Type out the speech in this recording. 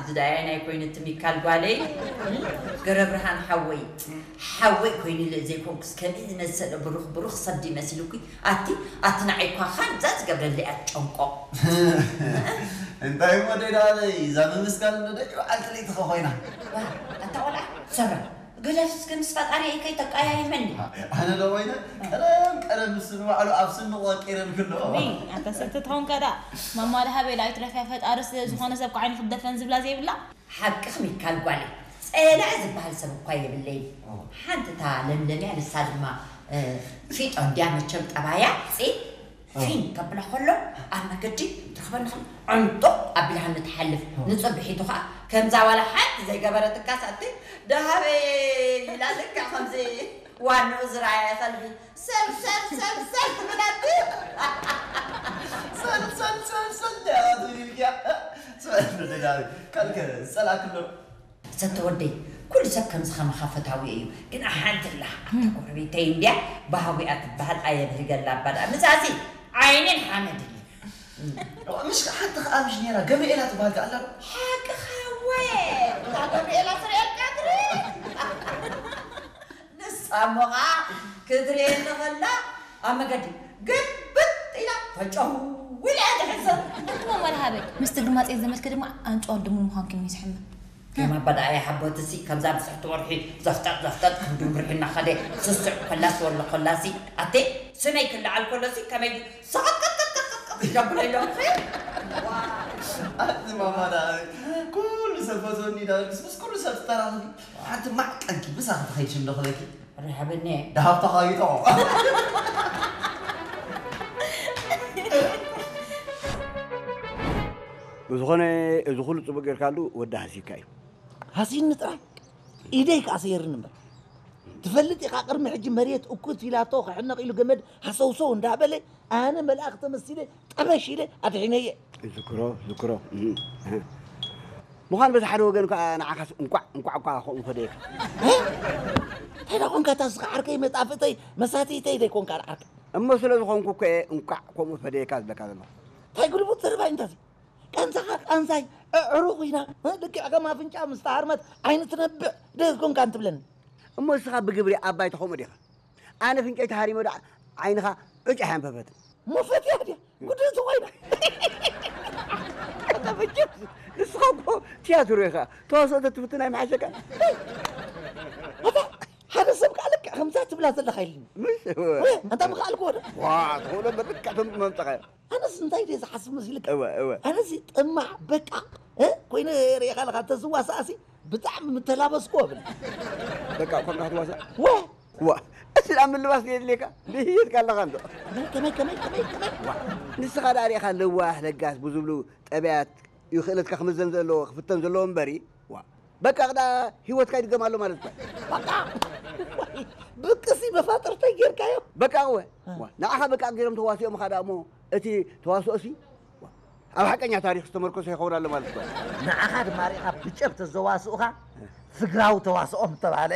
ዝዳያይ ናይ ኮይኑ እቲ ሚካል ጓለይ ገረብርሃን ሓወይ ሓወይ ኮይኑለ ዘይኮንኩስ ከምዚ ዝመሰለ ብሩኽ ብሩኽ ሰብ ድዩ መሲሉኪ ኣቲ ኣቲ ንዓይ እኳ ኻንዛ ዝገብረለይ ኣትጨንቆ። እንታይ እሞ ደዳለይ እዛ ምምስጋን እንዶ ደቂ በዓልቲ ለይቲ ኸ ኮይና። ኣታ ቆልዓ ሰረ ገዳፍስ ከም ምስ ፈጣሪ ከይተቃያይመኒ። ኣነ ዶ ኮይነ ቀደም ቀደም ምስ ንባዕሉ ኣብ ስንቑ ወቂረ ንክሎ። ኣታ ሰተ ትኸውን ከዳ ማማ ደሃበይ ላይት ረፊያ ፈጣሪ ስለ ዝኾነ ሰብ ከዓይኑ ክደፈን ዝብላ ዘይብላ። ሓቅኽ ሚካል ጓለይ ጸላኢ ዝበሃል ሰብ እኳ የብለይን። ሓንቲ እታ ለምለምያ ንሳ ድማ ፊጦ እንድያ መቸም ጠባያ ጺ ፊን ከብላ ከሎ ኣብ መገዲ ትረኽበኒ ከላ ዕንጡቕ ኣቢልሃኒ ትሓልፍ። ንጽብሒቱ ኸኣ ከምዛ ዋላ ሓንቲ ዘይገበረትካ ሳእቲ ደሃበይ ኢላ ልክዕ ከምዚ ዋንኡ ዝረኣየ ከልቢ ሰል ሰል ሰል ሰል ትብለኒ። ሰል ሰል ሰል ሰል ደያቱ ይልኪያ ሰል ደዳሪ ካልከ ዝጸላክሎ ሰተ ወደይ ኩሉ ሰብ ከምዚ ከማኻ ፈታዊ እዩ ግን ሓንቲ ኣላ ኣብታ ጎረቤተይ እንድያ ባህዊኣ ትበሃል ኣየብህገላ ኣባ ደኣ ምሳሲ ዓይንን ሓመድን እዩ ምሽ ሓንቲ ከኣ ምሽ ነራ ገብርኤላ ትበሃል ከኣላ ሓቅኻ ወ እታ ገብርኤላ ትርእየልካ ትርኢ ንሳ እሞ ኸዓ ክትርእየኒ ኸላ ኣብ መገዲ ግብጥ ኢላ ፈጨው ኢላ እያ ትሕሰብ። እሞ መርሃበይ ምስቲ ግማፀይ ዘመድኪ ድማ ኣንጭዋ ድሙን ምዃንኪ እዩ ዝሕመ። ከም ኣባዳ እያ ሓቦትሲ ከምዛ ብፅሕቲ ወርሒ ዘፍጠጥ ዘፍጠጥ ክንዱ ምርሒ እናኸደ ስስዕ ኮላስ ወሎ ኮላሲ ኣቴ ስመይ ክለዓል ኮሎሲ ከመይ ሰቐጥቀጥቀጥቀጥቀጥ ይደብሎ ኢሎምኺ። ኣቲ ማማ ደኣ ኩሉ ሰብ ፈትወኒ ዳርግስ ምስ ኩሉ ሰብ ትተራኸቢ ሓንቲ ማዕቀንኪ ምሳኺ ትኸይድ ሽም ዶ ክለኪ ርሃበኒ ደሃብ ተኻይጦ ብዝኾነ እዚ ኩሉ ጽቡቅ ጌርካሉ ወዲ ሃሲካ እዩ። ሃሲኒ ጥራይ ኢደይ ከኣ ሰይርኒ እምበር ትፈልጥ ኢኻ ቅድሚ ሕጂ መሬት እኩት ኢላቶ ክሕነቕ ኢሉ ገመድ ሃሰውሰው እንዳበለ ኣነ መልኣኽ ተመሲለ ጠበሽ ኢለ ኣድሒነየ። ዝክሮ ዝክሮ ምዃን በዚ ሓደ ወገን ከዓ ንዓኻስ እንኳዕ እንኳዕ እኳ ከምኡ ፈደየካ። እንታይ ዳ ኮንካ እታ ስኻ ዓርከይ መጣፍእተይ መሳትይተይ ዘይኮንካ ዓርከይ። እሞ ስለ ዝኾንኩ እኮ እየ እንኳዕ ከምኡ ፈደየካ ዝብለካ ዘለኹ። እንታይ ግልቡጥ ዘረባ እዩ እንታዚ? ቃንዛኻ ቃንዛይ ኣዕሩኽ ኢና ልክዕ ከም ኣፍንጫ ምስ ተሃርመት ዓይኒ ትነብዕ ዶ ኮንካ እንትብለኒ። እሞ ንስኻ ብግብሪ ኣባይ ተኸምኡ ዲኻ? ኣነ ፍንጨይ ተሃሪመ ዶ ዓይንኻ ዕጭ ኣየንፈፈትን። ሞፈት እያ ድያ ጉድእቲ ኮይና። ንስኻ እኮ ትያትሮ ኢኻ ተዋስኦ ተትፍትን ኣይምሓሸካ። ኣታ ሓደ ሰብ ከዓ ልክዕ ከምዛ ትብላ ዘለኻ ኢልኒ። ምሽ ኣንታ ምኽኣልክዎ ዶ? ዋ ትኽእሎ በልካ ተምፅመምፀኻ ኣነስ እንታይ ድየ ዝሓስብ መሲልካ? እወ እወ። ኣነስ ጥማዕ በቃ እ ኮይነ ሪኢኻ ኣለኻ ተዝዋሳእሲ ብጣዕሚ ምተላበስኩ እብል። በቃ እኳ ክትዋሳእ ወ ዋ እቲ ኣብ ምልባስ የድልየካ ድህየትካ ኣለኻ እንዶ ከመይ ከመይ ከመይ ከመይ ከመይ ዋ ንስኻ ደኣ ሪኢኻ ለዋህ ለጋስ ብዝብሉ ጠብያት እዩ ክእለትካ ክምዘን ዘለዎ ክፍተን ዘለዎ እምበሪ ዋ በቃ ቅዳ ህይወትካ ይድገም ኣሎ ማለት እኳ በቃ ብቅሲ መፋጥርተይ ጌርካዮ በቃ እወ ዋ ንዓኻ በቃ ገይሮም ተዋሲኦም ኻ ደኣ እሞ እቲ ተዋስኦሲ ኣብ ሓቀኛ ታሪክ ዝተመርኮሰ ይኸውን ኣሎ ማለት እዩ። ንዓኻ ድማ ርኢኻ ብጨብ ተዘዋስኡኻ ፍግራዊ ተዋስኦ ምተባህለ።